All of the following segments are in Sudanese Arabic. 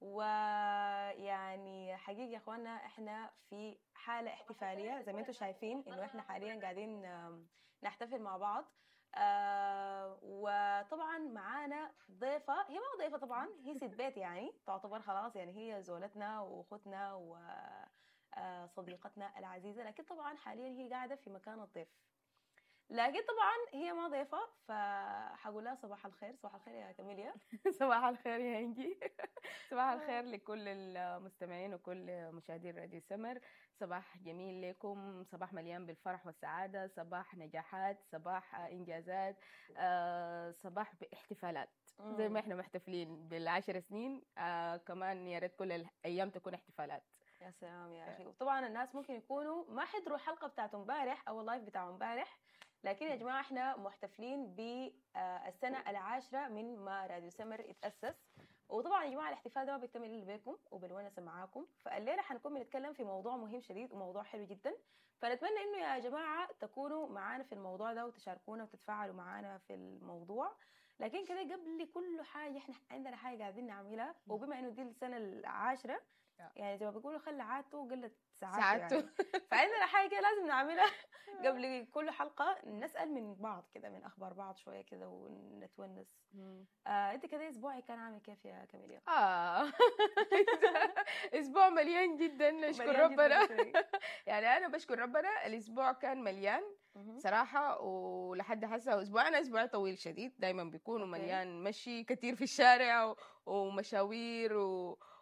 ويعني حقيقي يا اخوانا احنا في حاله احتفالية زي ما انتم شايفين انه احنا حاليا قاعدين نحتفل مع بعض. وطبعا معانا ضيفه، هي ما ضيفه طبعا، هي ست بيت يعني تعتبر خلاص، يعني هي زولتنا واختنا و صديقتنا العزيزة، لكن طبعا حاليا هي قاعدة في مكان الضيف، لكن طبعا هي ما ضيفه، فحقول لها صباح الخير. صباح الخير يا كاميليا. صباح الخير يا انجي، صباح الخير لكل المستمعين وكل مشاهدين راديو سمر. صباح جميل لكم، صباح مليان بالفرح والسعادة، صباح نجاحات، صباح إنجازات، صباح باحتفالات زي ما احنا محتفلين بال10 سنين، كمان يا ريت كل الأيام تكون احتفالات. يا سلام يا اخي. وطبعا الناس ممكن يكونوا ما حضروا الحلقة بتاعت امبارح او ال live بتاع امبارح، لكن يا جماعة احنا محتفلين بالسنة العاشرة من ما راديو سمر اتاسس. وطبعا يا جماعة الاحتفال ده ما بيكتمل الا بيكم وبالونسه معاكم. فالليله حنكون بنتكلم في موضوع مهم شديد وموضوع حلو جدا، فنتمنى انه يا جماعة تكونوا معانا في الموضوع ده وتشاركونا وتتفاعلوا معانا في الموضوع. لكن كده قبل كل حاجة احنا عندنا حاجة قاعدين نعملها، وبما انه دي السنة العاشرة يعني زي ما بيقولوا خلى عادته قلت سعادته، سعادته. يعني فعندنا حاجة لازم نعملها قبل كل حلقه، نسال من بعض كده من اخبار بعض شوية كده ونتونس. انت كده اسبوعك كان عامل كيف يا كاميليا؟ اسبوع مليان جدا، نشكر مليان جداً ربنا. شوي. يعني انا بشكر ربنا، الاسبوع كان مليان صراحة، ولحد هسه اسبوع، انا اسبوع طويل شديد دايما بيكون ومليان مشي كتير في الشارع ومشاوير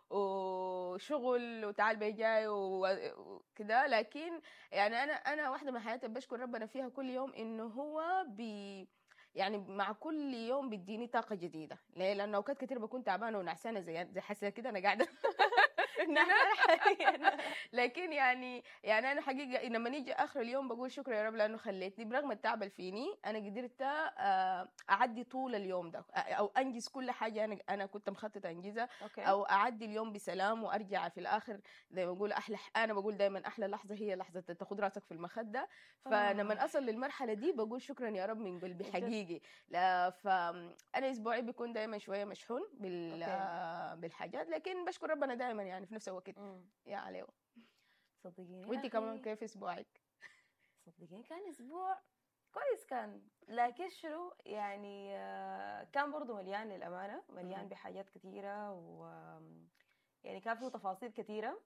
وشغل وتعال بي جاي وكده. لكن يعني انا واحدة من حياتي بشكر ربنا فيها كل يوم انه هو يعني مع كل يوم بيديني طاقة جديده. ليه؟ لانه اوقات كتير بكون تعبانة ونعسانه زي حاسه كده انا قاعدة نحن حاليا. لكن يعني انا حقيقة لما نيجي اخر اليوم بقول شكرا يا رب لانه خليتني برغم التعب اللي فيني انا قدرت اعدي طول اليوم ده او انجز كل حاجة انا كنت مخططه انجزها او اعدي اليوم بسلام وارجع في الاخر. زي ما بقول احلى، انا بقول دائما احلى لحظة هي لحظة تاخذ راسك في المخده. فلما اصل للمرحلة دي بقول شكرا يا رب من قلبي حقيقي. لا، فانا اسبوعي بيكون دائما شوية مشحون بالحاجات، لكن بشكر ربنا دائما يعني في نفس الوقت يا عليو. صدقيني وانت كمان كيف اسبوعك؟ صدقيني كان اسبوع كويس كان، لكن شنو يعني كان برضو مليان للأمانة، مليان بحاجات كثيرة و يعني كان فيه تفاصيل كثيرة.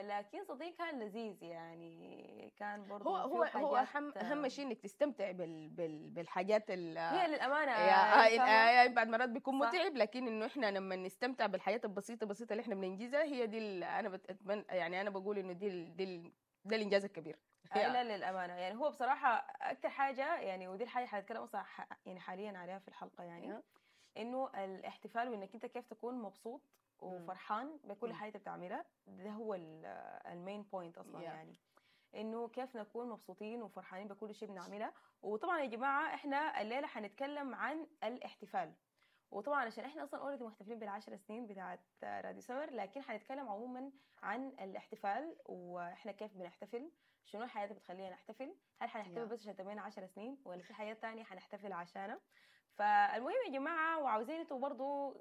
لكن صدقيني كان لذيذ، يعني كان برضو هو هو فيه هو حاجات اهم شيء انك تستمتع بالحاجات هي للأمانة يا فاهمة؟ بعد مرات بيكون متعب، لكن انه احنا لما نستمتع بالحياة البسيطة البسيطة اللي احنا بننجزها هي دي انا بتمنى، يعني انا بقول انه دي ال دي ال ده الانجاز الكبير. لا للأمانة يعني هو بصراحة أكتر حاجة يعني، ودي الحاجة حنتكلم أصلا يعني حاليا عليها في الحلقة، يعني إنه الاحتفال وإنك أنت كيف تكون مبسوط وفرحان بكل حاجة أنت بتعملها، ده هو ال main point أصلا. يعني إنه كيف نكون مبسوطين وفرحانين بكل شيء بنعملها. وطبعا يا جماعة إحنا الليلة حنتكلم عن الاحتفال، وطبعا عشان احنا اصلا already محتفلين بال10 سنين بتاعت راديو سمر، لكن حنتكلم عموما عن الاحتفال واحنا كيف بنحتفل، شنو الحاجات اللي بتخلينا نحتفل، هل حنحتفل بس عشان تمينا 10 سنين ولا في حاجات تانية حنحتفل عشانها؟ فالمهم يا جماعة وعاوزين انتوا برضو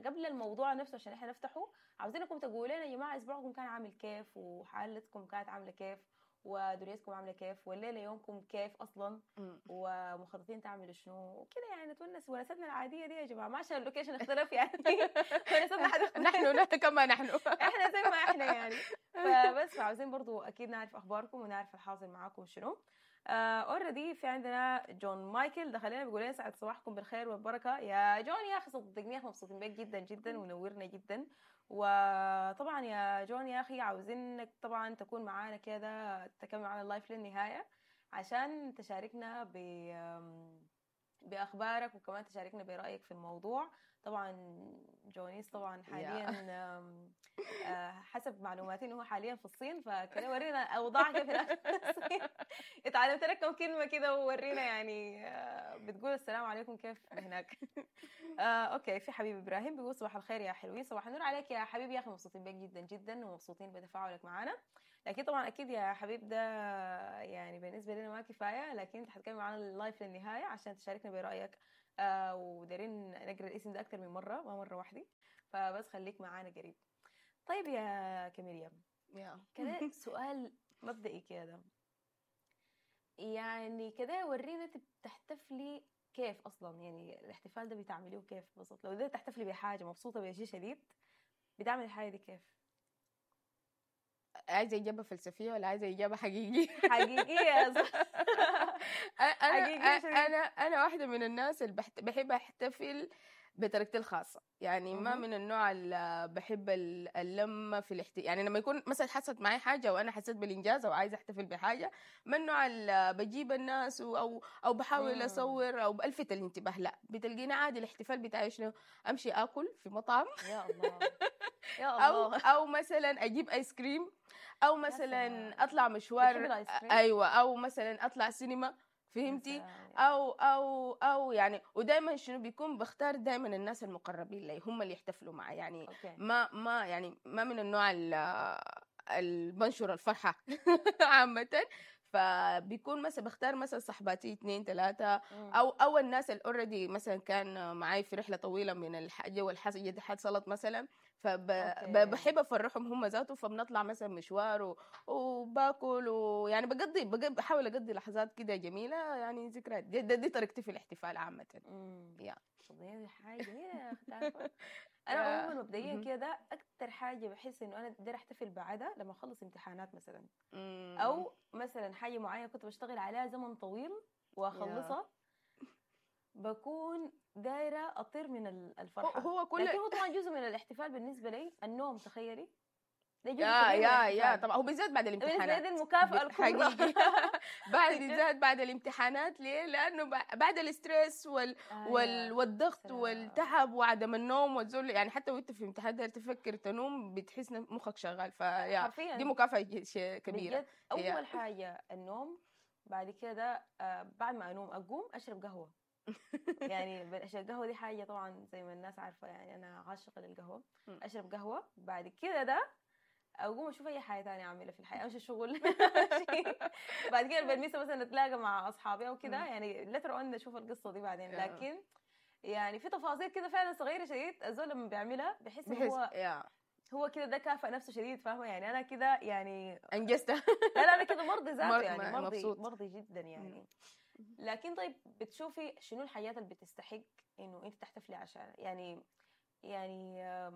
قبل الموضوع نفسه عشان احنا نفتحه، عاوزينكم تقولوا لنا يا جماعة اسبوعكم كان عامل كيف، وحالتكم كانت عامله كيف، ودنيتكم عامله كيف، والليلة يومكم كيف اصلا، ومخططين تعملوا شنو وكده. يعني نتونس ونستنا العادية دي يا جماعه، ما عشان ال location اختلف يعني ونستنا حتختلف. نحن كما نحن. احنا زي ما احنا يعني. فبس فعاوزين برضو اكيد نعرف اخباركم ونعرف الحاصل معاكم شنو. already في عندنا جون مايكل دخل لنا بيقول لنا سعد صباحكم بالخير والبركة يا جون. يا اخي صدقني يا اخي مبسوطين بك جدا جدا ونورنا جدا. وطبعا يا جون يا اخي عاوزينك طبعا تكون معانا كده، تكمل معانا ال live للنهاية عشان تشاركنا باخبارك وكمان تشاركنا برايك في الموضوع. طبعا جونيس طبعا حاليا حسب معلوماتي انه هو حاليا في الصين، فكده ورينا اوضاع كيف هناك في الصين. اتعلمت لك كم كلمة كده وورينا يعني بتقول السلام عليكم كيف هناك. Okay، في حبيب ابراهيم بيقول صباح الخير يا حلوين. صباح النور عليك يا حبيبي. يا اخي مبسوطين بك جدا جدا ومبسوطين بتفاعلك معنا، لكن طبعا اكيد يا حبيب ده يعني بالنسبة لنا ما كفايه، لكن انت حتكمل معنا ال live للنهاية عشان تشاركنا برايك. ودايرين نقرا الاسم ده اكثر من مرة، ما مرة واحدة، فبس خليك معانا قريب. طيب يا كاميليا، كده سؤال مبدئي كده، يعني كده ورينا انت بتحتفلي كيف اصلا، يعني الاحتفال ده بتعمليه كيف بالضبط؟ لو ده تحتفلي بحاجة، مبسوطة بشيء شديد، بتعمل الحاجة دي كيف؟ عايزه اجابه فلسفية ولا عايزه اجابه حقيقية؟ حقيقية. انا حقيقية شديد. انا واحدة من الناس اللي بحب احتفل بطريقتي الخاصة، يعني ما من النوع اللي بحب اللمة في يعني لما يكون مثلا حصلت معي حاجة وانا حسيت بالانجاز او عايزه احتفل بحاجة، ما النوع اللي بجيب الناس او بحاول اصور او بلفت الانتباه، لا، بتلقيني عادي. الاحتفال بتاعي شنو؟ امشي اكل في مطعم. يا الله يا او الله. او مثلا اجيب ايس كريم، او مثلا سلام. اطلع مشوار. بتحبي الايس كريم؟ ايوه، او مثلا اطلع سينما، فهمتي؟ او يعني، ودائما شنو بيكون بختار دائما الناس المقربين لي هم اللي يحتفلوا معي، يعني ما يعني ما من النوع اللي بنشر الفرحة عامه، فبيكون مثلا بختار مثلا صحباتي اثنين ثلاثة او الناس اللي already مثلا كان معي في رحله طويلة من الحاجة والحاجة دي حصلت مثلا، فبحب افرحهم هم ذاته، فبنطلع مثلا مشوار وباكل، ويعني بحاول اقضي لحظات كده جميله، يعني ذكريات. دي طريقتي في الاحتفال عامه. Yeah. طب دي حاجة جميلة يا اخي، تعرفي؟ انا عموما مبدئيا كده اكثر حاجة بحس انه انا دايرة احتفل بعدها لما اخلص امتحانات مثلا، او مثلا حاجة معينة كنت بشتغل عليها زمن طويل واخلصها، بكون دايرة اطير من الفرحه. هو كل لكن هو طبعا جزء من الاحتفال بالنسبة لي النوم، تخيلي، ده جزء يا كبير من يا يا الاحتفال. طبعا، هو بالذات بعد بالنسبة لي الامتحانات. دي المكافاة الكبرى. حقيقي، بعد بالذات بعد الامتحانات. ليه؟ لانه بعد ال stress والضغط سلام. والتعب وعدم النوم والذل، يعني حتى وانت في امتحان داير تفكر تنوم بتحس إن مخك شغال، ف yeah حرفيا دي مكافأة كبيرة. بجد، اول حاجة النوم، بعد كده بعد ما انوم اقوم اشرب قهوه، يعني عشان القهوة دي حاجة طبعا زي ما الناس عارفه، يعني انا عاشقه للقهوه. اشرب قهوه، بعد كده ده اقوم اشوف اي حاجة ثانية اعملها في الحياه، امشي الشغل، بعد كده بالمسا مثلا نتلاقى مع اصحابي او كده، يعني later on نشوف القصة دي بعدين. لكن يعني في تفاصيل كده فعلا صغيرة شديد، الزول لما بيعملها بحس انه بحس هو هو كده ده كافئ نفسه شديد، فاهمه؟ يعني انا كده يعني انجزتها. لا لا، انا كده مرضي ذاته، يعني مرضي مبسوط. مرضي جدا يعني. لكن طيب، بتشوفي شنو الحاجات اللي بتستحق انه انت تحتفلي عشانها؟ يعني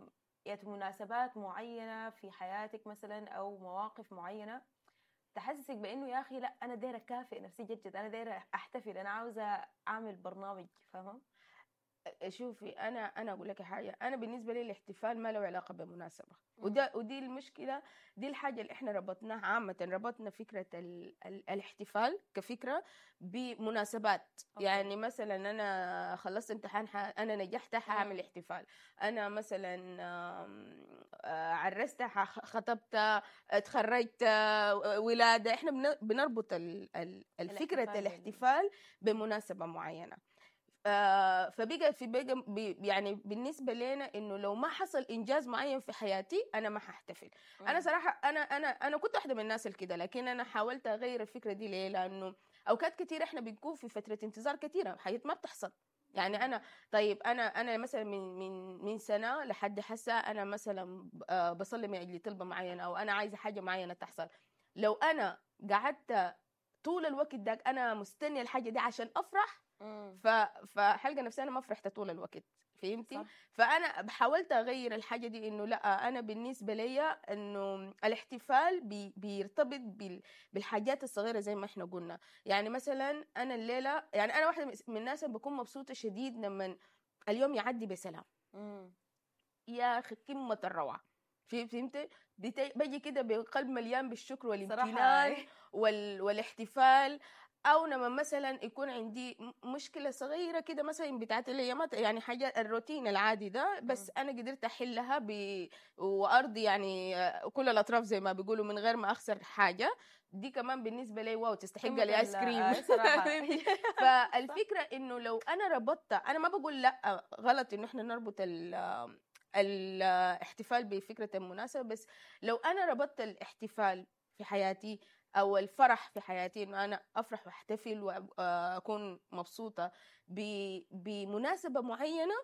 مناسبات معينة في حياتك مثلا او مواقف معينة تحسسك بانه يا اخي لا، انا دايرة اكافئ نفسي جد جد، انا دايرة احتفل، انا عاوزه اعمل برنامج، فاهمه؟ شوفي، انا اقول لك حاجه، انا بالنسبة لي الاحتفال ما له علاقة بمناسبه، وده ودي المشكله، دي الحاجة اللي احنا ربطناها عامه، ربطنا فكرة ال ال الاحتفال كفكرة بمناسبات. يعني مثلا انا خلصت امتحان انا نجحت حاعمل احتفال، انا مثلا عرست، خطبت، اتخرجت، ولاده، احنا بنربط الفكرة الاحتفال الاحتفال بمناسبة معينه، فبقى في بقى يعني بالنسبة لنا انه لو ما حصل انجاز معين في حياتي انا ما ححتفل. انا صراحة انا كنت واحدة من الناس اللي كده، لكن انا حاولت اغير الفكرة دي. ليه؟ لانه اوقات كثيرة احنا بنكون في فترة انتظار كثيره، حاجات ما بتحصل. يعني انا طيب انا مثلا من سنة لحد حسا انا مثلا بصلي من اجل طلبه معينة او انا عايزه حاجة معينة تحصل، لو انا قعدت طول الوقت ده انا مستنيه الحاجة دي عشان افرح، فحلقه نفسي انا ما فرحت طول الوقت، فهمتي؟ صح. فانا حاولت اغير الحاجة دي، انه لا، انا بالنسبة لي انه الاحتفال بيرتبط بالحاجات الصغيرة زي ما احنا قلنا. يعني مثلا انا الليله، يعني انا واحدة من الناس اللي بكون مبسوطة شديد لما اليوم يعدي بسلام. يا اخي قمة الروعه، فهمت؟ بجي كده بقلب مليان بالشكر والامتنان والاحتفال. او لما مثلا يكون عندي مشكلة صغيرة كده مثلا بتاعت الايامات، يعني حاجة الروتين العادي ده، بس انا قدرت احلها وارضي يعني كل الاطراف زي ما بيقولوا من غير ما اخسر حاجه، دي كمان بالنسبة لي wow، تستحق قمة الايس كريم. صراحة. فالفكرة انه لو انا ربطت، انا ما بقول لا غلط انه احنا نربط الاحتفال بفكره المناسبه، بس لو انا ربطت الاحتفال في حياتي او الفرح في حياتي، انه انا افرح واحتفل واكون مبسوطة بمناسبة معينه،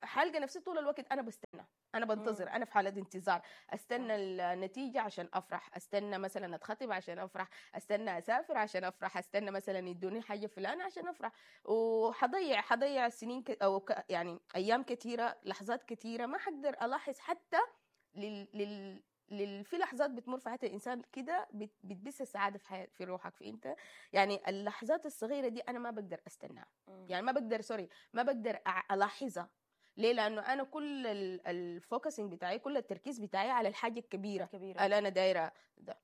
حالقى نفسي طول الوقت انا بستنى، انا بنتظر، انا في حاله انتظار، استنى النتيجة عشان افرح، استنى مثلا اتخطب عشان افرح، استنى اسافر عشان افرح، استنى مثلا يدوني حاجة فلانه عشان افرح، وحضيع سنين يعني ايام كثيره، لحظات كثيرة ما حقدر الاحظ حتى لل لل لل في لحظات بتمر في حياة الانسان كده بتبث السعادة في حياة في روحك، في انت يعني اللحظات الصغيرة دي انا ما بقدر استناها، يعني ما بقدر، sorry، ما بقدر الاحظها. ليه؟ لانه انا كل ال focusing بتاعي، كل التركيز بتاعي على الحاجة الكبيرة اللي انا دايرة ده.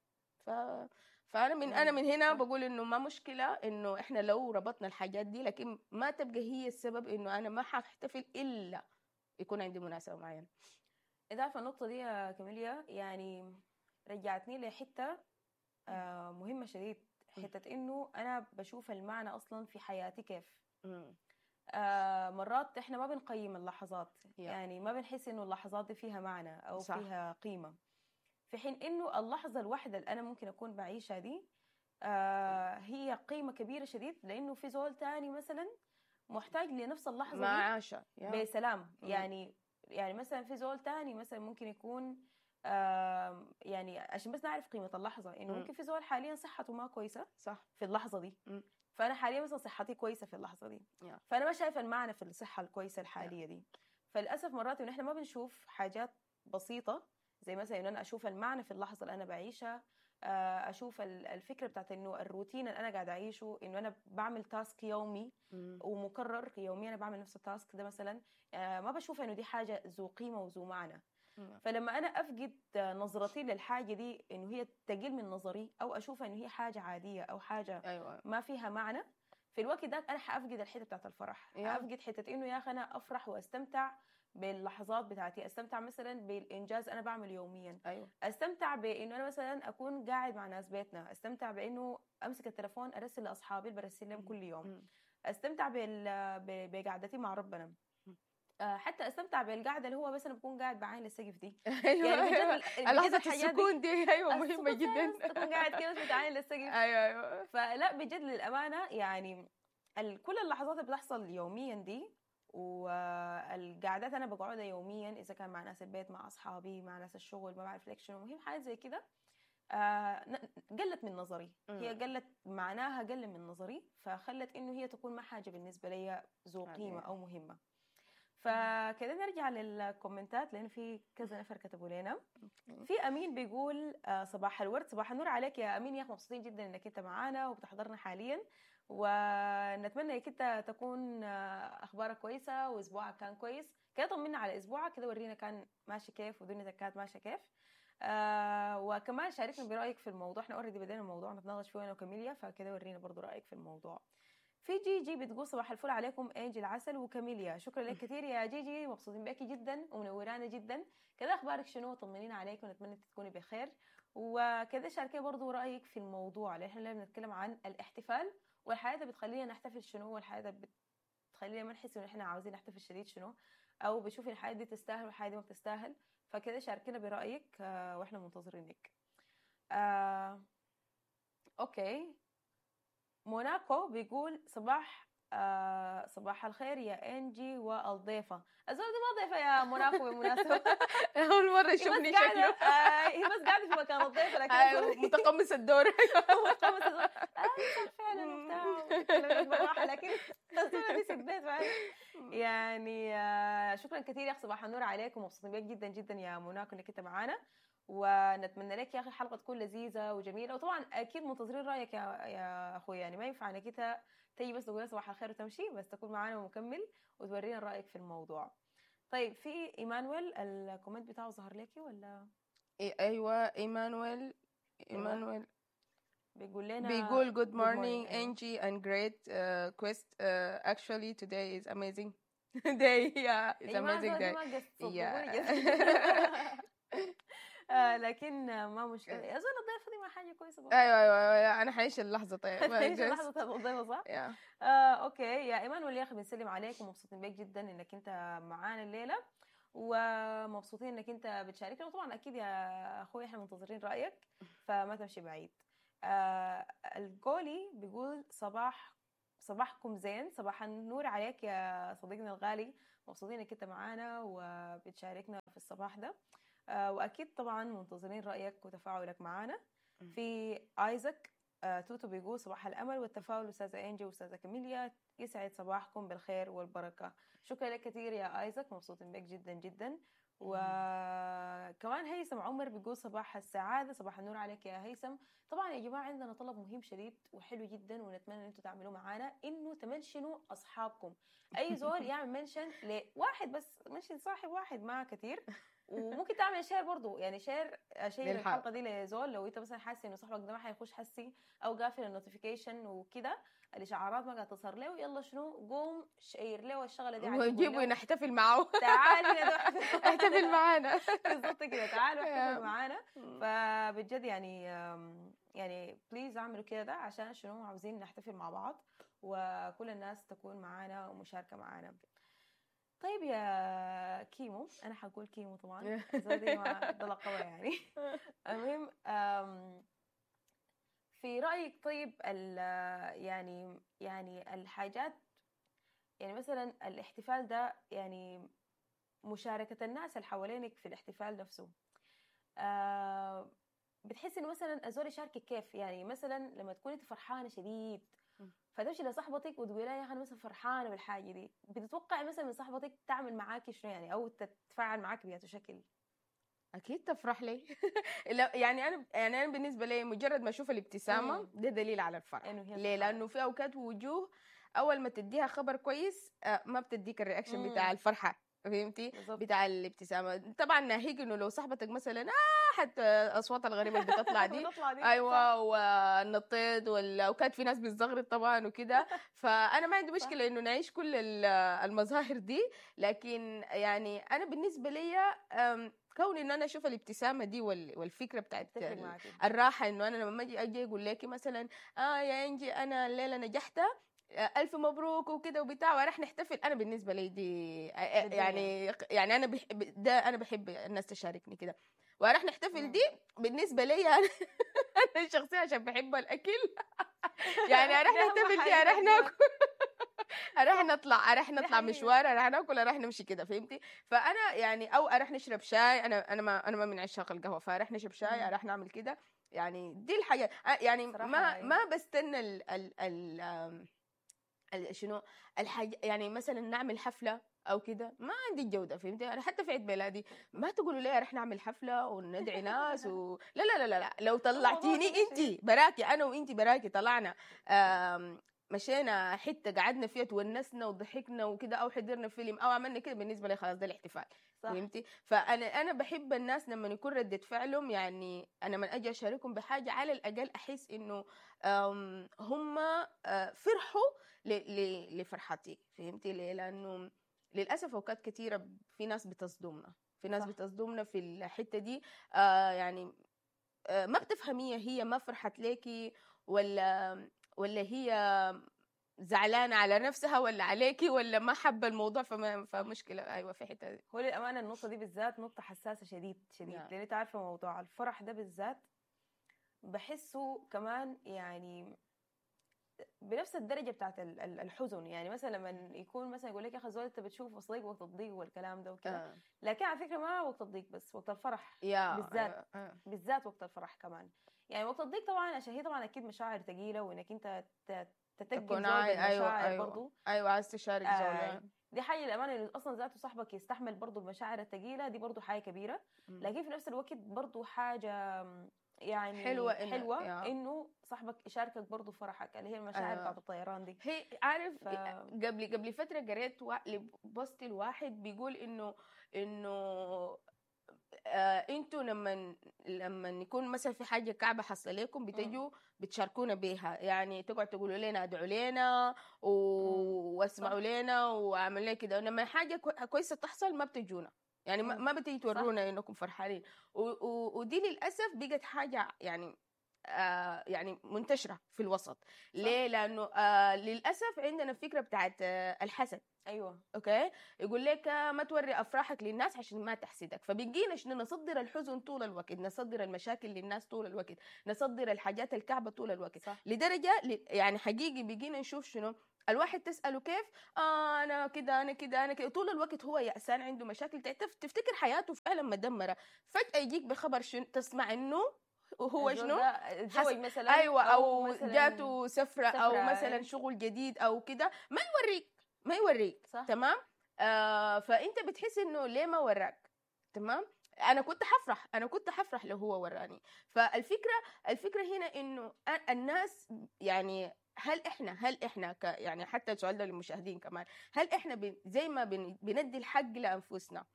فانا من انا من هنا بقول انه ما مشكلة انه احنا لو ربطنا الحاجات دي، لكن ما تبقى هي السبب انه انا ما حاحتفل الا يكون عندي مناسبة معينه. إذا عارفة النقطة دي يا كاميليا يعني رجعتني لحتة مهمة شديد، حتة إنه أنا بشوف المعنى أصلا في حياتي كيف. مرات إحنا ما بنقيم اللحظات، يعني ما بنحس إنه اللحظات دي فيها معنى أو صح. فيها قيمة، في حين إنه اللحظة الواحدة اللي أنا ممكن أكون بعيشها دي هي قيمة كبيرة شديد، لأنه في زول تاني مثلا محتاج لنفس اللحظة ما عاشها بسلام. يعني مثلا في زول تاني مثلا ممكن يكون يعني عشان بس نعرف قيمة اللحظة، إنه ممكن في زول حاليا صحته ما كويسة صح في اللحظة دي، فأنا حاليا مثلا صحتي كويسة في اللحظة دي، فأنا ما شايفة المعنى في الصحة الكويسة الحالية دي. فللأسف مرات إنه إحنا ما بنشوف حاجات بسيطة زي مثلا إنه أنا أشوف المعنى في اللحظة اللي أنا بعيشها، أشوف الفكرة بتاعت إنه الروتين اللي أنا قاعدة أعيشه، إنه أنا بعمل task يومي ومكرر يوميا، أنا بعمل نفس ال task ده مثلا، ما بشوف إنه دي حاجة ذو قيمة وذو معنى. فلما أنا أفقد نظرتي للحاجة دي إنه هي تقل من نظري، أو أشوف إنه هي حاجة عادية أو حاجة ما فيها معنى، في الوقت ده أنا حأفقد الحتة بتاعت الفرح، حأفقد حتة إنه يا أخي أنا أفرح وأستمتع باللحظات بتاعتي، استمتع مثلا بالانجاز انا بعمل يوميا، استمتع بانه انا مثلا اكون قاعد مع ناس بيتنا، استمتع بانه امسك التليفون ارسل لاصحابي اللي برسل لهم كل يوم، استمتع بقعدتي مع ربنا، حتى استمتع بالقعده اللي هو مثلا بكون قاعد بعاين للسقف دي. ايوه يعني لحظة السكون دي ايوه مهمة جدا، تكون قاعد كده بس بتعاين للسقف. ايوه فلا بجد للامانة يعني كل اللحظات اللي بتحصل يوميا دي والقعدات انا بقعدها يوميا، اذا كان مع ناس البيت، مع اصحابي، مع ناس الشغل، ما بعرف ليك شنو، المهم حاجات زي كده قلت من نظري، هي قلت معناها، قل من نظري، فخلت انه هي تكون ما حاجة بالنسبة لي ذو قيمة او مهمة. فكده نرجع للكومنتات لان في كذا نفر كتبوا لنا. في امين بيقول صباح الورد، صباح النور عليك يا امين، يا اخي مبسوطين جدا انك انت معانا وبتحضرنا حاليا، ونتمنى انك انت تكون اخبارك كويسة واسبوعك كان كويس. كده طمنا على اسبوعك، كده ورينا كان ماشي كيف ودنيتك كانت ماشية كيف. وكمان شاركنا برايك في الموضوع، احنا already بدينا الموضوع نتناقش فيه انا وكاميليا، فكده ورينا برضو رايك في الموضوع. في جيجي بتقول صباح الفل عليكم انجي العسل وكاميليا، شكرا لك كثير يا جيجي، مبسوطين بك جدا ومنورانا جدا. كده اخبارك شنو؟ طمنينا عليك ونتمنى تكوني بخير. وكده شاركي برضو رايك في الموضوع، لان احنا بنتكلم عن الاحتفال والحياة بتخلينا نحتفل شنو، والحياة بتخلينا ما نحس ان احنا عاوزين نحتفل شديد شنو، او بتشوفي الحياة دي تستاهل والحياة دي ما بتستاهل. فكده شاركينا برايك واحنا منتظرينك. okay، موناكو بيقول صباح الخير يا انجي والضيفه. الزول دي ما ضيفه يا موناكو بالمناسبة، اول مرة يشوفني شكله. هي بس قاعدة في مكان الضيفه، لكن متقمص الدور. متقمص الدور فعلا وبتاع بالراحة، لكن الزول دي ست بيت يعني. شكرا كثير يا اخي، صباح النور عليكم، مبسوطين بيك جدا جدا يا موناكو انك انت معانا، ونتمنى لك يا اخي حلقة تكون لذيذة وجميلة. وطبعا اكيد منتظرين رايك يا اخوي، يعني ما ينفع انك انت تيجي بس تقول صباح الخير وتمشي، بس تكون معانا ومكمل وتورينا رايك في الموضوع. طيب في ايمانويل ال comment بتاعه ظهر لك ولا؟ ايوه ايمانويل بيقول لنا، بيقول good morning Angie and great quest actually today is amazing day. yeah it's amazing day. yeah لكن ما مشكلة يا زول، الضيفه دي ما حاجة كويسة برضه. ايوه انا حعيش اللحظة. طيب حعيش اللحظة بتاعت الضيفه صح؟ okay يا ايمان، يا اخي بنسلم عليك ومبسوطين بيك جدا انك انت معانا الليلة، ومبسوطين انك انت بتشاركنا، وطبعا اكيد يا اخوي احنا منتظرين رايك، فما تمشي بعيد. الجولي بيقول صباحكم زين، صباح النور عليك يا صديقنا الغالي، مبسوطين انك انت معانا وبتشاركنا في الصباح ده، واكيد طبعا منتظرين رايك وتفاعلك معانا. في ايزاك توتو بيقول صباح الامل والتفاؤل استاذه انجي واستاذه كاميليا، يسعد صباحكم بالخير والبركة. شكرا لك كثير يا ايزاك، مبسوطين بك جدا جدا. وكمان هيثم عمر بيقول صباح السعادة، صباح النور عليك يا هيثم. طبعا يا جماعة عندنا طلب مهم شديد وحلو جدا، ونتمنى ان انتم تعملوه معانا، انه تمنشنوا اصحابكم. اي زول يعمل mention لواحد بس، mention صاحب واحد ما كثير، وممكن تعمل share برضو، يعني share الحلقة دي لزول لو انت مثلا حاسس انه صاحبك ده ما حيخش حسي او قافل ال notification وكده، الاشعارات ما قاعدة تظهر له، يلا شنو قوم share له الشغلة دي وجيبه نحتفل معه، تعال هنا احتفل معانا بالضبط كده، تعالوا احتفلوا معانا. فبجد يعني please اعملوا كده ده، عشان شنو عاوزين نحتفل مع بعض وكل الناس تكون معانا ومشاركة معانا. طيب يا كيمو، انا حقول كيمو طبعا زي ما ده لقبه يعني. المهم في رايك طيب يعني الحاجات، يعني مثلا الاحتفال ده، يعني مشاركة الناس اللي حوالينك في الاحتفال نفسه، بتحس انه مثلا الزول يشاركك كيف؟ يعني مثلا لما تكون انت فرحانة شديد فتمشي لصاحبتك وتقولي لها يا اخي انا مثلا فرحانة بالحاجة دي، بتتوقعي مثلا من صاحبتك تعمل معاكي شنو يعني، او تتفاعل معاكي بأي شكل؟ اكيد تفرح لي. يعني انا بالنسبة لي مجرد ما اشوف الابتسامة ده دليل على الفرح. ليه؟ لانه في اوقات وجوه اول ما تديها خبر كويس ما بتديك ال reaction بتاع الفرحة، فهمتي؟ بتاع الابتسامة. طبعا ناهيك انه لو صاحبتك مثلا حتى اصوات الغريبة اللي بتطلع دي ايوه والنطيط وكانت في ناس بتزغرط طبعا وكده، فانا ما عندي مشكلة انه نعيش كل المظاهر دي، لكن يعني انا بالنسبة لي كون انه انا اشوف الابتسامة دي والفكرة بتاعت الراحة، انه انا لما اجي اقول لك مثلا يا انجي انا الليلة نجحت ألف مبروك وكده وبتاع وراح نحتفل، أنا بالنسبة لي دي يعني أنا ده أنا بحب الناس تشاركني كده وراح نحتفل. دي بالنسبة لي أنا شخصيا عشان بحب الأكل يعني راح نحتفل دي، راح ناكل، راح نطلع مشوار، راح ناكل، راح نمشي كده، فهمتي؟ فأنا يعني أو راح نشرب شاي، أنا ما من عشاق القهوة، فراح نشرب شاي، راح نعمل كده، يعني دي الحاجة. يعني ما بستنى ال ال شنو الحاجة، يعني مثلا نعمل حفلة أو كده، ما عندي الجودة، فهمتي؟ أنا حتى في عيد ميلادي ما تقولوا لي رح نعمل حفلة وندعي ناس لا لا لا لا، لو طلعتيني أنتي براكي، أنا وأنتي براكي طلعنا مشينا حتة قعدنا فيها تونسنا وضحكنا وكده، أو حضرنا فيلم أو عملنا كده، بالنسبة لي خلاص ده الاحتفال، فهمتي؟ فأنا بحب الناس لما يكون ردة فعلهم، يعني أنا من أجي أشاركهم بحاجة على الأقل أحس إنه هم فرحوا لفرحتي، فهمتي؟ ليه؟ لأنه للأسف أوقات كثيرة في ناس بتصدمنا، في ناس بتصدمنا في الحتة دي، يعني ما بتفهميها، هي ما فرحت ليكي ولا هي زعلانة على نفسها ولا عليكي ولا ما حابة الموضوع، فمشكلة. أيوة في حتة دي. هو للأمانة النقطة دي بالذات نقطة حساسة شديد شديد، لأن أنت عارفة موضوع الفرح ده بالذات بحسه كمان يعني بنفس الدرجة بتاعت الحزن. يعني مثلا لما يكون مثلا يقول لك يا أخي زول أنت بتشوف صديق وقت الضيق والكلام ده وكده، لكن على فكرة ما وقت الضيق بس، وقت الفرح بالذات، بالذات وقت الفرح كمان. يعني وقت الضيق طبعا عشان هي طبعا أكيد مشاعر ثقيلة، وإنك أنت تتقل زول بالمشاعر برضو. أيوة عايز تشارك زول، دي حاجة للأمانة إنه أصلا ذاته صاحبك يستحمل برضو المشاعر الثقيلة دي، برضو حاجة كبيرة. لكن في نفس الوقت برضو حاجة يعني حلوة إنه صاحبك يشاركك برضو فرحك، اللي هي المشاعر بتاعت الطيران دي. هي عارف قبل فترة قريت post الواحد بيقول إنه انتوا لما يكون مثلا في حاجة كعبه حصل لكم بتجوا بتشاركونا بيها، يعني تقعد تقولوا لنا ادعوا لنا واسمعوا لنا واعملوا لنا كده، لما حاجة كويسة تحصل ما بتجونا، يعني ما بتيجي تورونا انكم فرحانين. ودي للاسف بقت حاجة يعني يعني منتشرة في الوسط. ليه؟ لانه للاسف عندنا فكرة بتاعت الحسد. ايوه okay، يقول لك ما توري افراحك للناس عشان ما تحسدك. فبقينا شنو؟ نصدر الحزن طول الوقت، نصدر المشاكل للناس طول الوقت، نصدر الحاجات الكعبة طول الوقت. صح. لدرجة يعني حقيقي بقينا نشوف شنو؟ الواحد تساله كيف؟ انا كده انا كده انا كده، طول الوقت هو يأسان، عنده مشاكل، تفتكر حياته فعلا مدمرة. فجاة يجيك بخبر شنو؟ تسمع انه هو شنو؟ تزوج مثلا، ايوه، او مثلاً جاته سفره او مثلا شغل جديد او كده، ما يوريك، ما يوريك. صح. تمام. فانت بتحس انه ليه ما وراك؟ تمام. انا كنت حفرح، انا كنت حفرح لو هو وراني. فالفكرة هنا انه الناس يعني هل احنا يعني حتى السؤال ده للمشاهدين كمان، هل احنا زي ما بندي الحق لانفسنا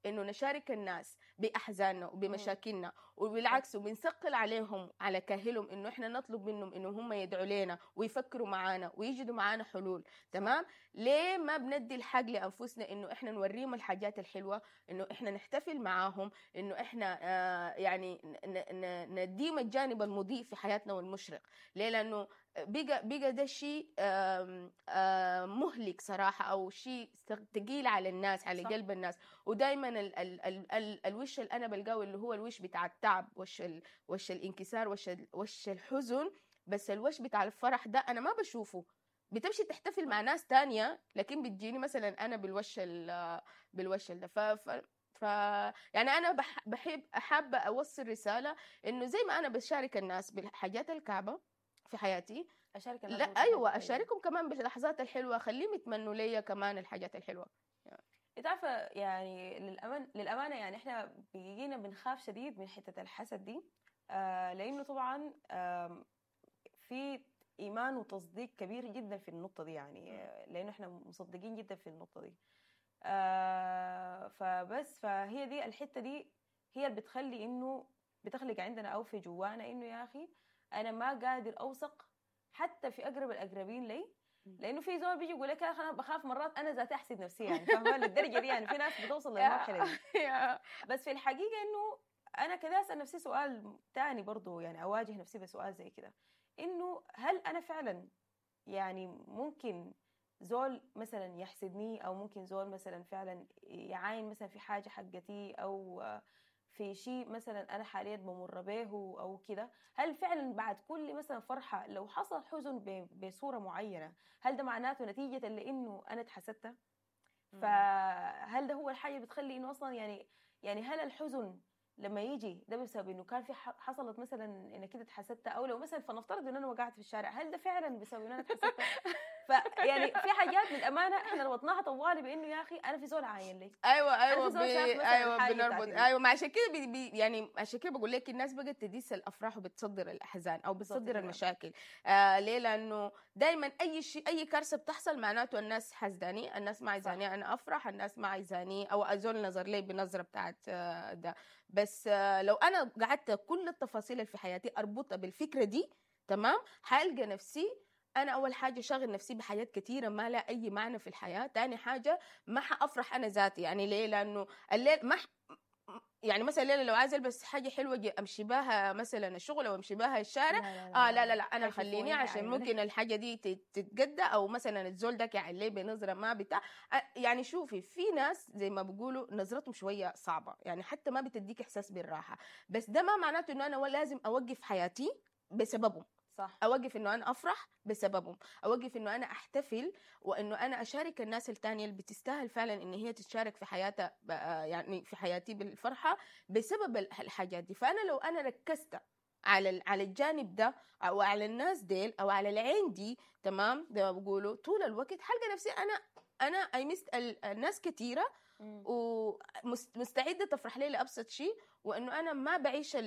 انه نشارك الناس باحزاننا وبمشاكلنا، وبالعكس وبنثقل عليهم على كاهلهم انه احنا نطلب منهم انه هم يدعوا لنا ويفكروا معانا ويجدوا معانا حلول، تمام؟ ليه ما بندي الحق لانفسنا انه احنا نوريهم الحاجات الحلوة، انه احنا نحتفل معاهم، انه احنا يعني نديم الجانب المضيء في حياتنا والمشرق؟ ليه؟ لانه بقى ده شيء مهلك صراحة، أو شيء ثقيل على الناس، على صح. قلب الناس. ودايما ال ال ال ال الوش اللي أنا بلقاه اللي هو الوش بتاع التعب، وش الانكسار، وش الحزن، بس الوش بتاع الفرح ده أنا ما بشوفه. بتمشي تحتفل مع ناس تانية، لكن بتجيني مثلا أنا بالوش ده. ف يعني أنا بحب حابة أوصل رسالة إنه زي ما أنا بشارك الناس بالحاجات الكعبة في حياتي، اشارك، لا ايوه اشاركهم كمان باللحظات الحلوة، خليهم يتمنوا ليا كمان الحاجات الحلوة. انت عارفه يعني للامانة يعني احنا بيجينا بنخاف شديد من حتة الحسد دي، لانه طبعا في ايمان وتصديق كبير جدا في النقطة دي، يعني لانه احنا مصدقين جدا في النقطة دي. فبس فهي دي الحتة دي هي اللي بتخلي انه بتخلق عندنا او في جوانا انه يا اخي انا ما قادر اوثق حتى في اقرب الاقربين لي، لانه في زول بيجي يقول لك يا اخي انا بخاف مرات انا ذاتي احسد نفسي، يعني فاهمه للدرجة دي، يعني في ناس بتوصل للمرحلة دي. بس في الحقيقة انه انا كده اسال نفسي سؤال ثاني برضو، يعني اواجه نفسي بسؤال زي كده، انه هل انا فعلا يعني ممكن زول مثلا يحسدني، او ممكن زول مثلا فعلا يعاين مثلا في حاجة حقتي، او في شيء مثلا أنا حاليا بمر به أو كده، هل فعلا بعد كل مثلا فرحة لو حصل حزن بصورة معينة، هل ده معناته نتيجة لأنه أنا اتحسدت؟ فهل ده هو الحاجة بتخلي إنه أصلا يعني هل الحزن لما يجي ده بسبب إنه كان في حصلت مثلا إنك كده اتحسدت، أو لو مثلا فنفترض إن أنا وقعت في الشارع، هل ده فعلا بسبب إن أنا اتحسدت؟ فيعني في حاجات للامانة احنا ربطناها طوالي بانه يا اخي انا في زول عاين لي، ايوه ايوه بنربط، ايوه. ما عشان كده يعني عشان كده بقول لك الناس بقت تديس الافراح وبتصدر الاحزان او بتصدر المشاكل. ليه؟ لانه دائما اي شيء، اي كارثة بتحصل معناته الناس حزداني، الناس ما عايزاني انا افرح، الناس ما عايزاني او ازول نظر لي بنظره بتاعت ده. بس لو انا قعدت كل التفاصيل اللي في حياتي اربطها بالفكرة دي، تمام، حالقى نفسي أنا أول حاجة شاغل نفسي بحاجات كثيرة ما لها أي معنى في الحياة. تاني حاجة ما حأفرح أنا ذاتي، يعني ليه؟ لأنه الليل ما يعني مثلا الليلة لو عايز ألبس حاجة حلوة أمشي بها مثلا الشغل أو أمشي بها الشارع، لا لا لا, لا, لا أنا خليني عشان ممكن الحاجة دي تتجدى، أو مثلا الزول ده يعني ليه بنظرة ما بتاع. يعني شوفي في ناس زي ما بيقولوا نظرتهم شوية صعبة، يعني حتى ما بتديك إحساس بالراحة، بس ده ما معناته إنه أنا لازم أوقف حياتي بسببهم. صح. أوقف إنه أنا أفرح بسببهم، أوقف إنه أنا أحتفل، وإنه أنا أشارك الناس التانية اللي بتستاهل فعلا إن هي تتشارك في حياتها، يعني في حياتي بالفرحة بسبب الحاجات دي. فأنا لو أنا ركزت على الجانب ده، أو على الناس ديل، أو على العين دي، تمام، زي ما بقولوا طول الوقت حلقة نفسي أنا I missed الناس كثيرة، ومستعدة تفرح لي لأبسط شيء، وإنه أنا ما بعيش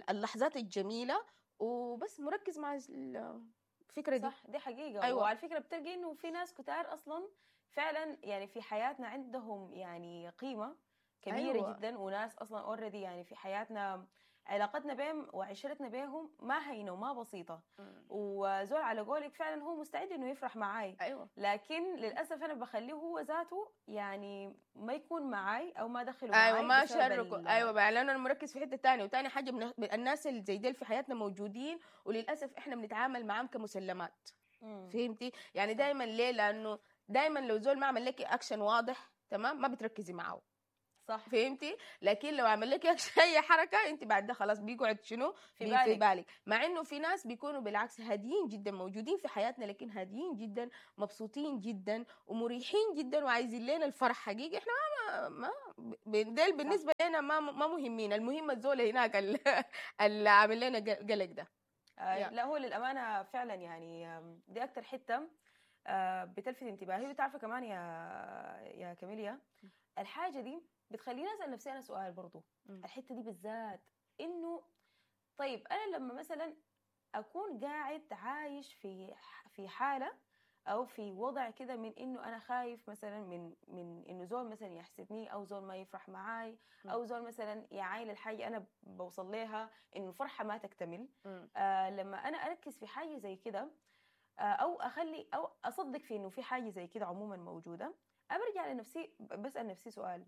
اللحظات الجميلة، وبس مركز مع الفكرة دي. صح، دي حقيقة. أيوة. وعلى فكرة بتلقي إنه في ناس كتار أصلا فعلا يعني في حياتنا عندهم يعني قيمة كبيرة. أيوة. جدا، وناس أصلا already يعني في حياتنا علاقتنا بهم وعشرتنا بهم ما هينة وما بسيطة. وزول على قولك فعلا هو مستعد إنه يفرح معاي. أيوة. لكن للأسف أنا بخليه هو ذاته يعني ما يكون معاي أو ما دخله معاي. أيوة، ما شاركه. أيوة، لأنه أنا مركز في حتة تانية. وتاني حاجة الناس اللي زي ديل في حياتنا موجودين، وللأسف إحنا بنتعامل معاهم كمسلمات. فهمتي؟ يعني دايما ليه؟ لأنه دائما لو زول ما عمل لك اكشن واضح، تمام، ما بتركزي معاه. صح. فهمتي؟ لكن لو عمل لك اي حركة انت بعد ده خلاص بيقعد شنو في بالك. في بالك. مع انه في ناس بيكونوا بالعكس هاديين جدا، موجودين في حياتنا لكن هاديين جدا، مبسوطين جدا، ومريحين جدا، وعايزين لنا الفرح حقيقي. احنا ما ديل بالنسبة لنا ما مهمين، المهم الزول هناك اللي عامل لنا قلق ده. لا هو للامانة فعلا يعني دي اكثر حتة بتلفت انتباهي. وتعرفي كمان يا كاميليا الحاجة دي بتخليني اسال نفسي انا سؤال برضو، الحتة دي بالذات، انه طيب انا لما مثلا اكون قاعد عايش في حاله او في وضع كده من انه انا خايف مثلا من انه زول مثلا يحسدني، او زول ما يفرح معاي، او زول مثلا يعاين الحاجة انا بوصل لها انه الفرحة ما تكتمل. لما انا اركز في حاجة زي كده، او اخلي او اصدق في انه في حاجة زي كده عموما موجودة، برجع لنفسي بسال نفسي سؤال،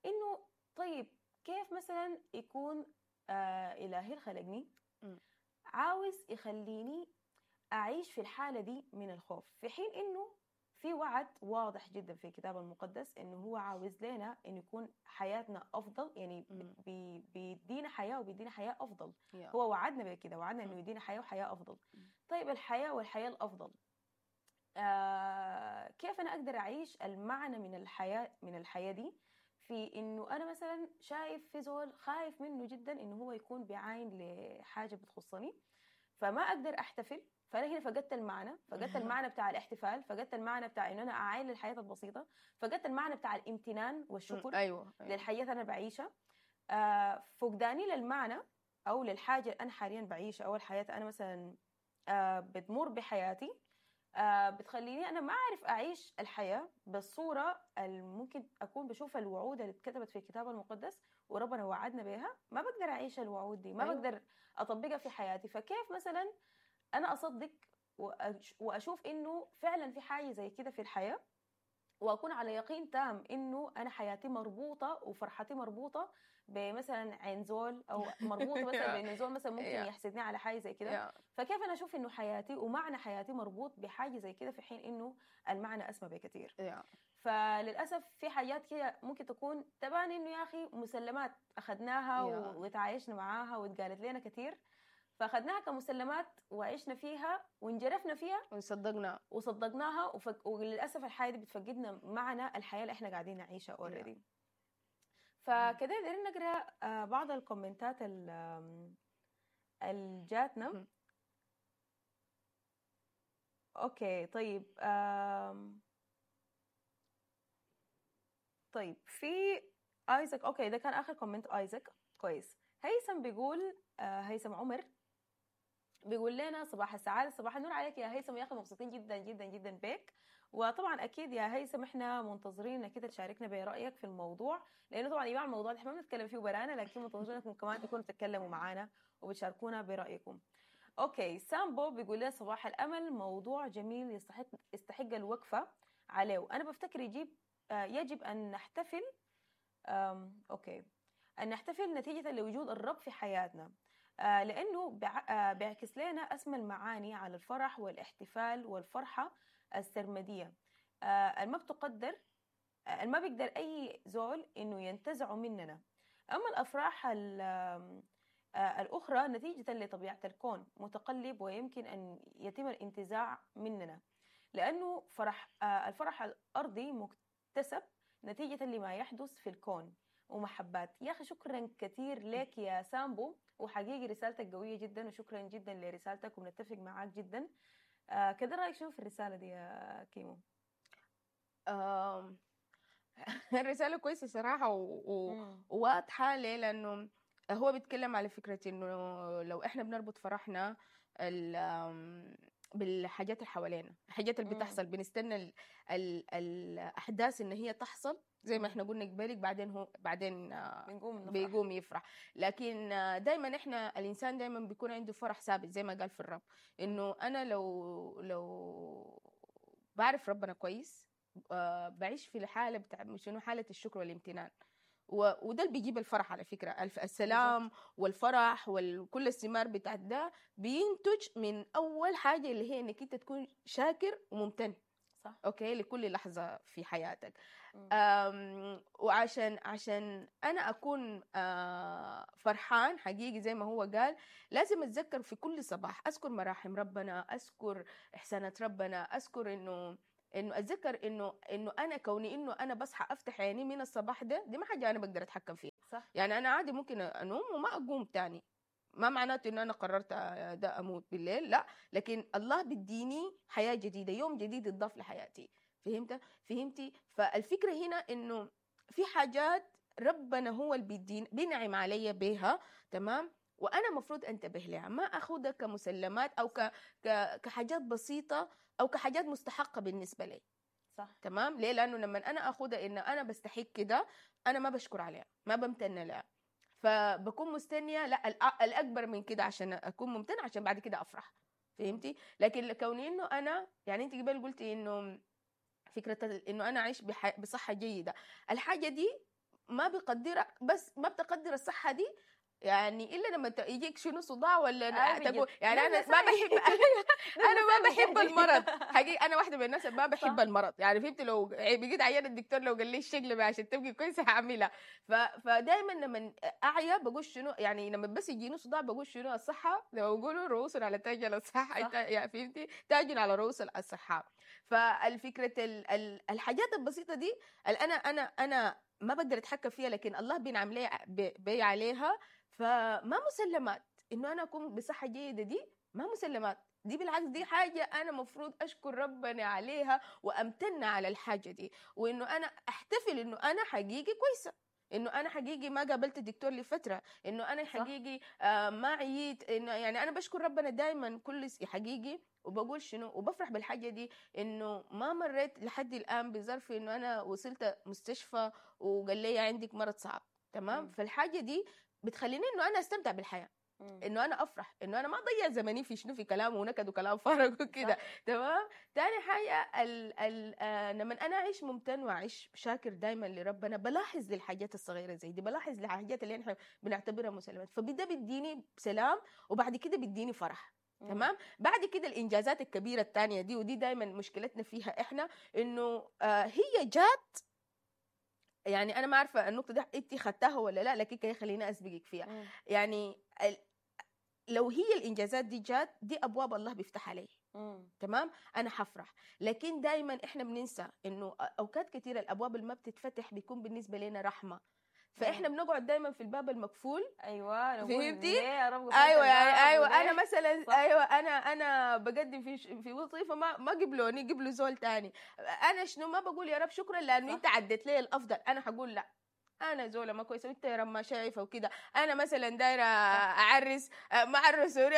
انه طيب كيف مثلا يكون الهي خلقني عاوز يخليني اعيش في الحالة دي من الخوف، في حين انه في وعد واضح جدا في الكتاب المقدس انه هو عاوز لنا انه يكون حياتنا افضل، يعني بيدينا حياة وبيدينا حياة افضل. هو وعدنا بكده، وعدنا انه يدينا حياة وحياه افضل. طيب الحياة والحياة الافضل، كيف انا اقدر اعيش المعنى من الحياة دي في انه انا مثلا شايف في زول خايف منه جدا انه هو يكون بيعاين لحاجة بتخصني، فما اقدر احتفل. فانا هنا فقدت المعنى، فقدت المعنى بتاع الاحتفال، فقدت المعنى بتاع انه انا اعاين للحياة البسيطة، فقدت المعنى بتاع الامتنان والشكر. أيوة. للحياة انا بعيشها. فقداني للمعنى او للحاجة اللي انا حاليا بعيشها، او الحياة انا مثلا بتمر بحياتي، بتخليني أنا ما أعرف أعيش الحياة بالصورة اللي ممكن أكون بشوف الوعود اللي اتكتبت في الكتاب المقدس وربنا وعدنا بها، ما بقدر أعيش الوعود دي، ما بقدر أطبقها في حياتي. فكيف مثلا أنا أصدق وأشوف إنه فعلا في حاجة زي كده في الحياة، وأكون على يقين تام إنه أنا حياتي مربوطة وفرحتي مربوطة بمثلا عين زول، أو مربوطة مثلا بإنه زول مثلا ممكن يحسدني على حاجة زي كده. فكيف أنا أشوف إنه حياتي ومعنى حياتي مربوط بحاجة زي كده في حين إنه المعنى أسمى بكثير؟ فللأسف في حاجات كده ممكن تكون تبان إنه يا أخي مسلمات أخذناها وتعايشنا معاها واتقالت لنا كثير، فأخذناها كمسلمات وعشنا فيها وانجرفنا فيها وصدقناها وللأسف الحياة دي بتفقدنا معنى الحياة اللي احنا قاعدين نعيشها already. فكده قدرنا نقرأ بعض الكومنتات اللي جاتنا. okay طيب، طيب في ايزاك، okay ده كان آخر comment ايزاك. كويس. هيثم بيقول، هيثم عمر بيقول لنا صباح السعادة، صباح النور عليك يا هيثم، يا أخي مبسوطين جدا جدا جدا بك. وطبعا أكيد يا هيثم احنا منتظرين انك تشاركنا برأيك في الموضوع، لأنه طبعا يا جماعة الموضوع احنا ما بنتكلم فيه برانا، لكن منتظرينكم كمان تكونوا بتتكلموا معانا وبتشاركونا برأيكم. okay سامبو بيقول لنا صباح الأمل، موضوع جميل يستحق الوقفة عليه. أنا بفتكر يجب أن نحتفل، okay أن نحتفل نتيجة لوجود الرب في حياتنا، لأنه بيعكس لنا أسمى المعاني على الفرح والاحتفال والفرحة السرمدية، ما بتقدر، ما بيقدر أي زول إنه ينتزعه مننا. أما الأفراح الأخرى نتيجة لطبيعة الكون متقلب ويمكن أن يتم الانتزاع مننا، لأنه الفرح الأرضي مكتسب نتيجة لما يحدث في الكون ومحبات. يا أخي شكرا كثير لك يا سامبو، وحقيقي رسالتك قوية جدا، وشكرا جدا لرسالتك وبنتفق معاك جدا. كده رأيك شنو في الرسالة دي يا كيمو؟ الرسالة كويسة صراحة وواضحة. ليه؟ لأنه هو بيتكلم على فكرة إنه لو إحنا بنربط فرحنا بالحاجات اللي حوالينا، الحاجات اللي بتحصل، بنستنى الأحداث إن هي تحصل زي ما احنا قلنا قبلك، بعدين هو بعدين بيقوم يفرح. لكن دايما احنا الانسان دايما بيكون عنده فرح ثابت زي ما قال في الرب، انه انا لو بعرف ربنا كويس، بعيش في الحالة بتاع شنو، حاله الشكر والامتنان، وده اللي بيجيب الفرح على فكرة. السلام والفرح وكل الثمار بتاع ده بينتج من اول حاجة اللي هي انك انت تكون شاكر وممتن. صح. okay، لكل لحظة في حياتك. وعشان انا اكون فرحان حقيقي زي ما هو قال، لازم اتذكر في كل صباح، اذكر مراحم ربنا، اذكر احسانات ربنا، اذكر انه اتذكر انه انا كوني انه انا بصحى افتح عيني من الصباح ده، دي ما حاجة انا بقدر اتحكم فيها. صح. يعني انا عادي ممكن انوم وما اقوم تاني، ما معناته انه انا قررت ده اموت بالليل، لا، لكن الله بيديني حياة جديدة، يوم جديد يضاف لحياتي. فهمتي؟ فالفكرة هنا انه في حاجات ربنا هو اللي بيديني، بينعم علي بيها، تمام، وانا مفروض انتبه لها، ما اخذها كمسلمات او كحاجات بسيطة او كحاجات مستحقه بالنسبة لي. صح. تمام. ليه؟ لانه لما انا اخذها ان انا بستحق كده، انا ما بشكر عليها، ما بمتن لها، فبكون مستنيه لا الاكبر من كده عشان اكون ممتنة، عشان بعد كده افرح. فهمتي؟ لكن كوني انه انا، يعني انت قبل قلتي انه فكرة انه انا اعيش بصحة جيدة، الحاجة دي ما بقدرها، بس ما بتقدر الصحة دي يعني الا لما يجيك شنو صداع ولا تقول، يعني انا ما بحب انا ما بحب المرض حقيقي، انا واحدة من الناس ما بحب المرض، يعني فهمت؟ لو بقيت عيان الدكتور لو قال لي الشغلة عشان تبقي كويسة هعملها. فدايما لما اعيا بقول شنو، يعني لما بس يجيني صداع بقول شنو الصحة، زي ما بيقولوا رؤوس على تاج الصحة، يعني فهمتي؟ تاج على رؤوس الصحة. فالفكرة الحاجات البسيطة دي انا انا انا ما بقدر اتحكم فيها، لكن الله بينعم لي بي عليها. فما مسلمات انه انا اكون بصحة جيدة، دي ما مسلمات، دي بالعكس دي حاجة انا مفروض اشكر ربنا عليها وامتن على الحاجة دي، وانه انا احتفل انه انا حقيقي كويسة، انه انا حقيقي ما قابلت الدكتور لفترة، انه انا حقيقي ما عييت، انه يعني انا بشكر ربنا دائما كل حقيقي، وبقول شنو وبفرح بالحاجة دي، انه ما مريت لحد الان بظرف انه انا وصلت مستشفى وقال لي عندك مرض صعب. تمام. فالحاجه دي بتخليني انه انا استمتع بالحياة، انه انا افرح، انه انا ما اضيع زمني في شنو، في كلام ونكد وكلام فارغ وكده. تمام. تاني حاجة لما انا اعيش ممتن واعيش شاكر دائما لربنا، بلاحظ للحاجات الصغيرة زي دي، بلاحظ للحاجات اللي احنا بنعتبرها مسلمات، فبدا بيديني سلام، وبعد كده بيديني فرح. تمام. بعد كده الانجازات الكبيرة الثانية دي، ودي دائما مشكلتنا فيها احنا، انه هي جات، يعني انا ما عارفه النقطة دي انت خدتها ولا لا، لكن كي خليني اسبقك فيها. يعني لو هي الانجازات دي جات، دي ابواب الله بيفتح علي. تمام، انا حفرح. لكن دائما احنا بننسى انه اوقات كثيرة الابواب اللي ما بتتفتح بيكون بالنسبة لنا رحمه، فاحنا بنقعد دايما في الباب المقفول. ايوه، فهمتي؟ ايوه يعني ايوه، انا مثلا صح. ايوه انا بقدم في وظيفة ما قبلوني، قبلوا زول تاني، انا شنو ما بقول يا رب شكرا لانه انت عديت لي الافضل، انا حقول لا انا زوله ما كويسة وانت يا رب ما شايفه وكده، انا مثلا دايرة اعرس ما عرسوني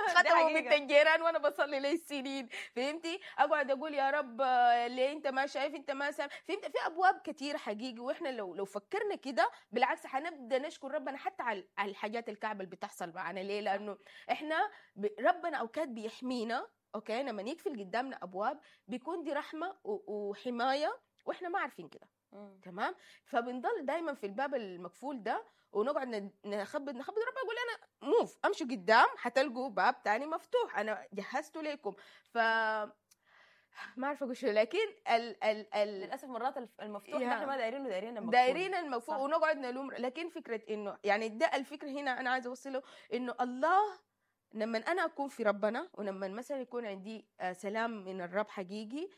ختموا بنت الجيران وانا بصلي لي السنين، فهمتي؟ اقعد اقول يا رب ليه انت ما شايف، انت ما سامع، فهمت؟ في ابواب كثير حقيقي، واحنا لو فكرنا كده بالعكس حنبدا نشكر ربنا حتى على الحاجات الكعبة اللي بتحصل معنا. ليه؟ لانه احنا ربنا اوقات بيحمينا، okay، لما يقفل قدامنا ابواب بيكون دي رحمه وحماية، واحنا ما عارفين كده. تمام. فبنضل دايما في الباب المقفول ده ونقعد نخبط نخبط، ربنا يقول انا move، امشوا قدام حتلقوا باب تاني مفتوح، انا جهزته لكم. ف ما عارفه اقول شو، لكن ال ال ال للاسف مرات المفتوح احنا ما دايرينه، دايرين المقفول، دايرين المقفول ونقعد نلوم. لكن فكرة انه يعني ده الفكرة هنا انا عايزه اوصله، انه الله لما انا اكون في ربنا، ولما مثلا يكون عندي سلام من الرب حقيقي،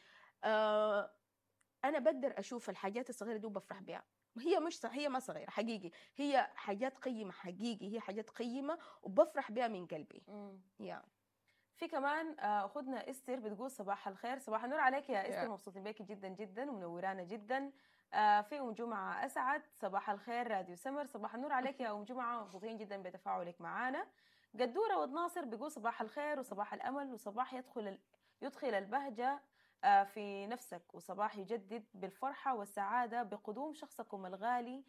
انا بقدر اشوف الحاجات الصغيرة دي وبفرح بها. هي مش هي ما صغيرة حقيقي، هي حاجات قيمة حقيقي، هي حاجات قيمة وبفرح بها من قلبي. يا في كمان اخذنا استر بتقول صباح الخير، صباح النور عليك يا استر، مبسوطين بيكي جدا جدا ومنورانا جدا. في ام جمعه اسعد، صباح الخير راديو سمر، صباح النور عليك يا ام جمعه، مبسوطين جدا بتفاعلك معانا. قدوره ود ناصر بيقول صباح الخير وصباح الامل وصباح يدخل البهجة في نفسك، وصباح يجدد بالفرحة والسعادة بقدوم شخصكم الغالي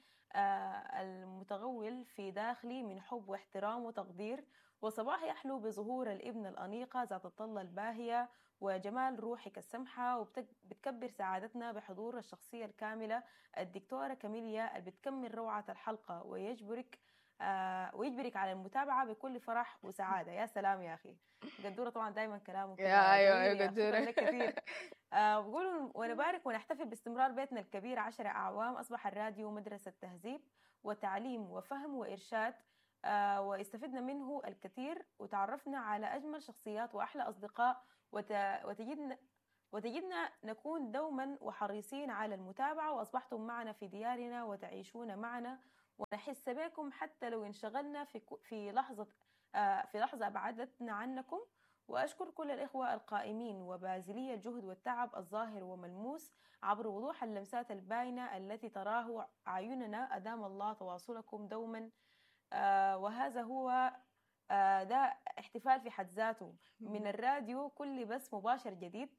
المتغول في داخلي من حب واحترام وتقدير، وصباح يحلو بظهور الابن الأنيقة ذات الطلة الباهية وجمال روحك السمحة، وبتكبر سعادتنا بحضور الشخصية الكاملة الدكتورة كاميليا اللي بتكمل روعة الحلقة ويجبرك ويجبرك على المتابعة بكل فرح وسعادة. يا سلام يا اخي قدوره، طبعا دائما كلامه كده يا أيوة، جميل. أيوة يا أخي. قدورة. شكراً لك كثير. بقولوا ونبارك ونحتفل باستمرار بيتنا الكبير 10 أعوام. أصبح الراديو مدرسة تهذيب وتعليم وفهم وإرشاد، واستفدنا منه الكثير وتعرفنا على أجمل شخصيات وأحلى أصدقاء، وتجدنا نكون دوما وحريصين على المتابعة، وأصبحتم معنا في ديارنا وتعيشون معنا ونحس بكم حتى لو انشغلنا في لحظة أبعدتنا عنكم. وأشكر كل الإخوة القائمين وبازلي الجهد والتعب الظاهر وملموس عبر وضوح اللمسات الباينة التي تراه أعيننا. أدام الله تواصلكم دوما. وهذا هو ده احتفال في حد ذاته من الراديو، كل بث مباشر جديد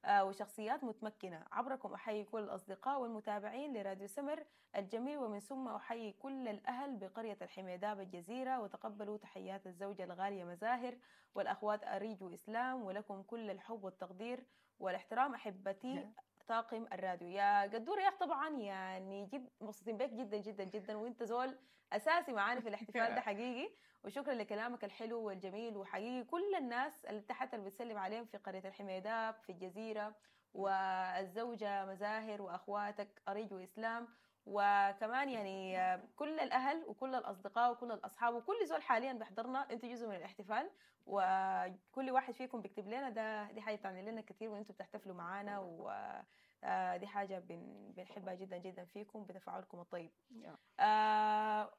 وشخصيات متمكنة. عبركم أحيي كل الأصدقاء والمتابعين لراديو سمر الجميل، ومن ثم أحيي كل الأهل بقرية الحميداب الجزيرة، وتقبلوا تحيات الزوجة الغالية مزاهر والأخوات أريج وإسلام، ولكم كل الحب والتقدير والاحترام أحبتي طاقم الراديو. يا قدورة يا أخ، طبعا يعني جد مبسوطين بك جدا جدا جدا، وانت زول اساسي معانا في الاحتفال ده حقيقي، وشكرا لكلامك الحلو والجميل. وحقيقي كل الناس اللي تحت اللي بتسلم عليهم في قرية الحميداب في الجزيرة، والزوجة مزاهر وأخواتك أريج وإسلام، وكمان يعني كل الأهل وكل الأصدقاء وكل الأصحاب وكل زول حاليا بيحضرنا، انتوا جزء من الاحتفال، وكل واحد فيكم بيكتب لنا ده، دي حاجة بتعني لنا كثير، وانتوا بتحتفلوا معانا، ودي حاجة بنحبها جدا جدا فيكم بتفاعلكم الطيب.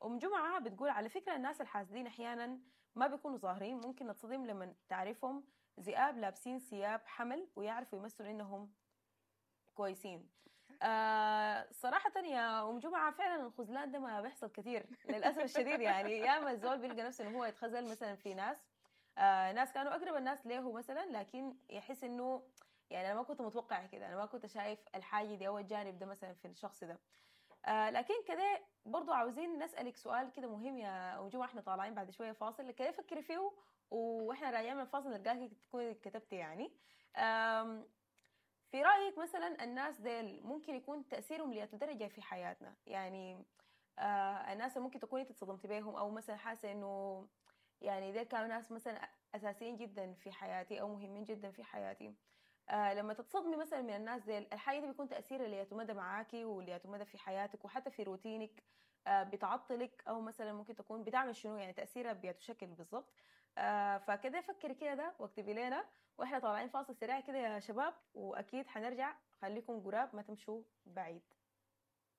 أم جمعة بتقول على فكرة الناس الحاسدين أحيانا ما بيكونوا ظاهرين، ممكن نتصدم لما تعرفهم ذئاب لابسين ثياب حمل ويعرفوا يمثلوا إنهم كويسين. صراحة يا أم جمعة فعلا الخذلان ده ما بيحصل كثير للأسف الشديد، يعني ياما الزول بيلقى نفسه إنه هو يتخذل مثلا في ناس، ناس كانوا أقرب الناس له مثلا، لكن يحس إنه يعني أنا ما كنت متوقع كده، أنا ما كنت شايف الحاجة دي أو الجانب ده مثلا في الشخص ده. لكن كده برضو عاوزين نسألك سؤال كده مهم يا أم جمعة، احنا طالعين بعد شوية فاصل، كده فكري فيه واحنا راجعين من الفاصل نلقاك تكوني كتبتي يعني. في رأيك مثلا الناس ديل ممكن يكون تأثيرهم لأي درجة في حياتنا؟ يعني الناس اللي ممكن تكوني اتصدمتي بيهم، أو مثلا حاسة إنه يعني ديل كانوا ناس مثلا أساسيين جدا في حياتي أو مهمين جدا في حياتي، لما تتصدمي مثلا من الناس ديل، الحاجة دي بيكون تأثيرها لياتو مدى معاكي ولياتو مدى في حياتك وحتى في روتينك، بتعطلك أو مثلا ممكن تكون بتعمل شنو، يعني تأثيرها بياتو شكل بالضبط. فكده فكري كده ده واكتبي لنا، واحنا طالعين فاصل سريع كده يا شباب، واكيد حنرجع، خليكم قراب ما تمشوا بعيد.